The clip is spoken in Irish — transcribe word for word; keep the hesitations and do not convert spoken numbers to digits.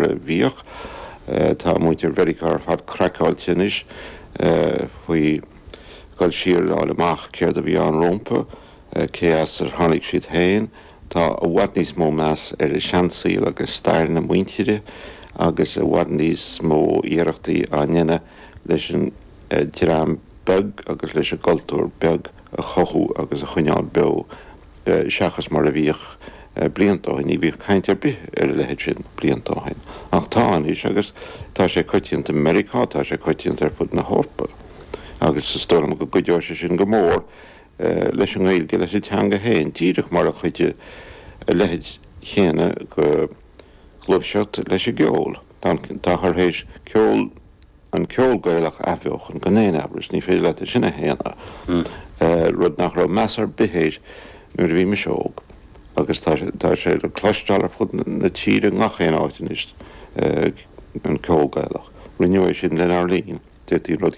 a bhíodh. Tá muintir Mheiriceá ar fad craiceáilte anois faoi dhul siar le fháil amach céard a bhí ann rompu, cé as ar tháinig siad féin. Tá i bhfad níos mó meas ar a seansaol agus stair na muintire agus i bhfad níos mó iarrachtaí á ndéanamh leis an dream beag agus leis an gcultúr beag a chothú agus a choinneáil beo seachas mar a bhíodh blianta ó shin. Ní bhíodh caint ar bith ar a leithéid sin blianta ó shin. Ach tá anois agus tá sé coitianta i Meiriceá, tá sé coitianta ar fud na hEorpa. Agus is dóigh liom go gcuideoidh sé sin go mór leis an nGaeilge, leis an teanga féin, díreach mar a chuidigh a leithéid chéanna de ghluaiseacht leis an gceol. Táthar théis ceol an ceol Gaelach a athbheochan gan aon amhras, ní féidir leat é sin a shéanadh, rud nach raibh meas ar bith air nuair a bhí mise óg. Agus tá tá sé le cloisteáil ar fud na tíre ngach aon áit anois an ceol Gaelach. Rinneadh é sin lenár linn, d'fhéadfaí an rud